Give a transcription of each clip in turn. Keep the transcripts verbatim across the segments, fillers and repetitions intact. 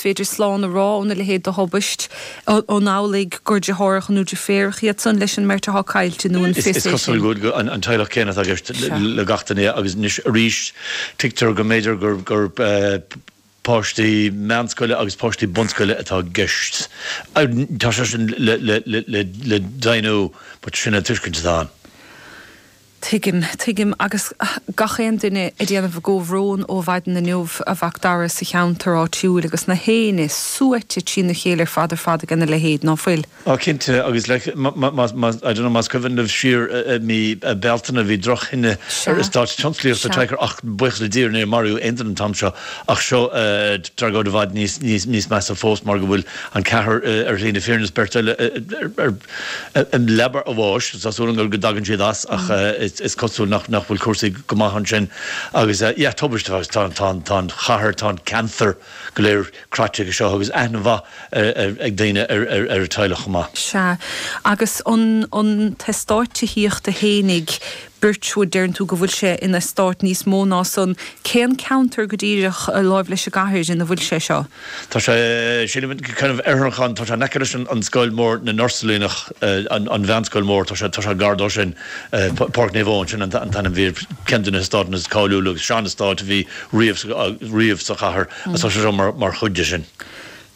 féidir slán a rá óna leithéid de thubaist an amhlaidh gur deartháireacha nó deirfiúracha iad san leis an mbeirt atá caillte nó an Is cosúil go an teaghlach céanna atá i gceist le gach duine agus anois arís tuigtear go mb'fhéidir gur gur páistí meánscoile agus páistí bunscoile atá i gceist. Tá sé sin le le le le deimhniú but sin an tuiscint atá ann. Tuigim, tuigim agus gach aon duine ag déanamh a gcomhbhrón ó mhaidin inniu a Mhac Dara sa cheantar áitiúil agus na héinne suaite trína chéile ar fad ar fad ag a leithéid ná fuil. Á cinnte agus le I don't know más cuimhin libh siar mí Bealtaine bhí drochthine ar eastát tionsclaíochta Teicher ach buíochas le Dia níor maraíodh aon duine an t-am seo ach seo tragóid i bhfad níos níos níos measa fós mar go bhfuil an ceathrar ar shlí na fírinne beirt eile ar leaba a bháis tá súil go dtagann siad as ach is cosúil nach nach bhfuil cúrsaí go maith ansin agus yeah tubaiste agus tá tá tá an chathair tá an ceantar go léir croite aige seo agus aithne mhaith ag daoine ar ar ar teaghlach maith. Sea agus an an t-eastát tithíochta fhéinig Birchwood deireann tú go bhfuil sé ina eastát níos mó ná san cén ceantar go díreach láimh leis an gcathair ina bhfuil sé seo. Tá sé sin kind of archan tá sé aice leis an scoil mór na nUrsulíneach an an mheánscoil mór tá sé tá sé gar dó sin Páirc Naomh Eoin sin an t-ainm bhí ceann de na heastáit is cáiliúla agus sean-eastát a bhí riamh riamh sa chathair a tá sé seo mar mar chuid de sin.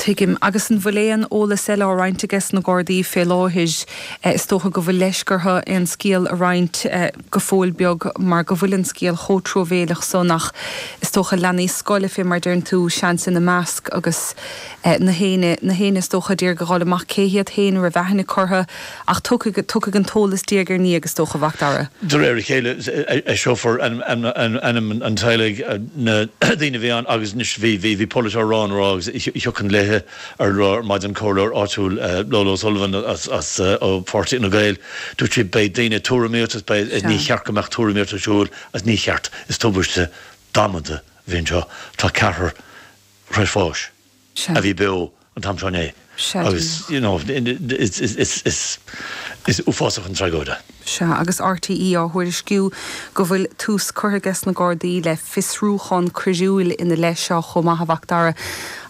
Tuigim agus an bhfuil aon eolas eile á roinnt aige na Gardaí fé láthair is dócha go bhfuil leisce orthu aon scéal a roinnt go fóill beag mar go bhfuil an scéal chomh truamhéalach san ach is dócha leanaí scoile fé mar deireann tú seans ina measc agus na héinne na héinne is dócha d'iarraidh a ghabháil amach cé hiad féin raibh aithne curtha ach tugadh an t-eolas diaidh ar ndiaidh agus dócha a Mhac Dara. De réir a chéile eiseofar ainm an teaghlaigh na daoine bhí ann agus anois bhí bhí bhí polaiteoir rá rá agus thiocfainn léithe ar ar maidin comhairleoir áitiúil Lolo Sullivan as as ó Pháirtí na Gael dúirt sí beidh daoine tuairimíocht beidh ní cheart go mbeadh tuairimíocht ar siúl as ní cheart is tubaiste damanta a bhí anseo tá ceathrar báis a bhí beo an t-am seo inné agus you know is is is is uafásach an tragóid. Sea agus RTÉ á thuairisciú go bhfuil tús curtha aige na Gardaí le fiosrúchán coiriúil ina leith seo chomh maith a Mhac Dara.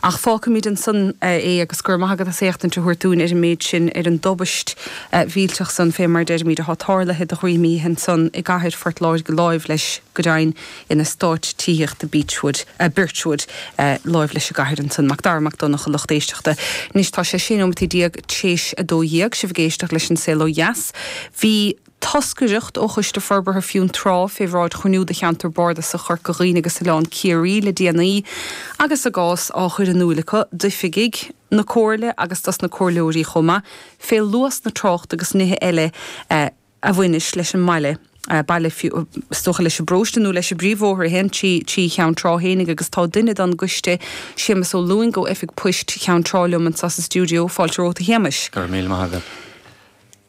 Ach fágfaimid ansan é agus gur maith agat as éachtaint a thabhairt dúinn ar an méid sin ar an dtubaist mhillteach san fé mar deirimid atá tarlaithe de dhroim ansan i gcathair Phort Láirge láimh leis go deimhin in eastát tithíochta Beechwood uh, Birchwood uh, láimh leis an gcathair ansan Macdara Mac Donncha lucht éisteachta. Anois tá sé sé nóiméad déag théis a dó dhéag sibh ag éisteacht leis an Saol Ó Dheas. Bhí toscaireacht ó Choiste Forbartha Fionntrá fé bhráid chruinniú de cheantar Bardasach Chorca Dhuibhne agus Oileán Ciarraí le déanaí agus a gcás á chur in iúl acu d'oifigigh na comhairle agus dos na comhairleoirí chomh maith fé luas na tráchta agus nithe eile eh, a bhaineas leis an mbaile. Uh, baile is dócha leis an bparóiste nó leis an bpríomhbhóthar a théann trí trí Cheann Trá fhéinig agus tá duine den gcoiste Séamus Ó Lúing ó Oifig Poist Cheann Trá liom anseo sa stiúideo fáilte romhat a Shéamais. Gur míle maith agat.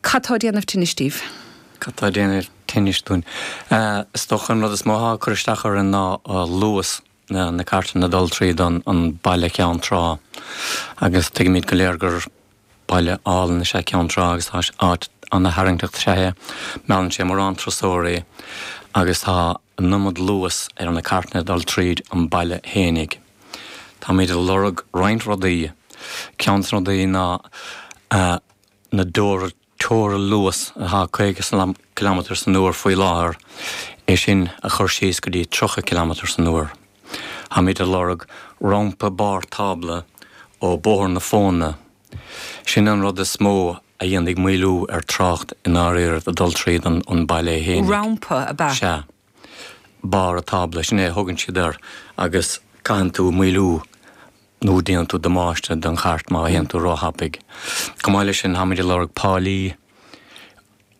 Cad tá ag déanamh tinnis daoibh? Cad tá ag déanamh tinnis dúinn. Is dócha an rud is mó atá ag cur isteach orainn ná luas na na cartanna dul tríd an an baile Ceann Trá agus tuigimid go léir gur baile álainn is ea Ceann Trá agus tá áit an-tharraingteach is ea é. Meallann sé mórán turasóirí agus tá an iomad luas ar na cartanna dul tríd an baile fhéinig. Táimid ag lorg roinnt rudaí. Ceann de na rudaí ná na dóra teora luas atá caoga kilometer san uair faoi láthair é sin a chur síos go dtí tríocha kilometer san uair. Táimid ag lorg rampa barr tábla ó Bóthar na Fóna. Sin an rud is mó a dhéanfaidh maolú ar trácht i ndáiríre ag dul tríd an an baile fhéinig. Rampa ab ea? Sea. Barr tábla sin é a thugann siad air agus caitheann tú maolú nó déanann tú damáiste don chairt má théann tú róthapaidh. Chomh maith leis sin táimid ag lorg páilí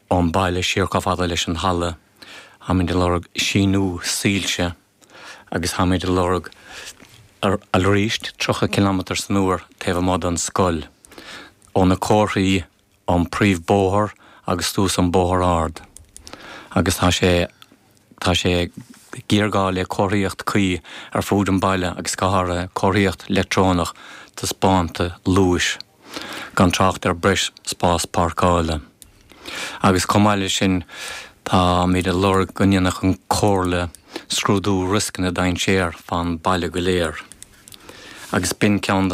ón baile siar chomh fada leis an halla, táimid ag lorg síniú soilse agus táimid ag lorg arís tríocha kilometer san uair taobh amuigh den scoil, ó na comharthaí ón príomhbóthar agus suas an bóthar ard. Agus tá sé tá sé géarghá le comharthaíocht cuí ar fud an baile agus go háirithe comharthaíocht leictreonach taispeánta luais, gan trácht ar breis spás páirceála. Agus chomh maith leis sin táimid ag lorg go ndéanfadh an Comhairle scrúdú riosca na dainséar fán baile go léir. Agus b'in ceann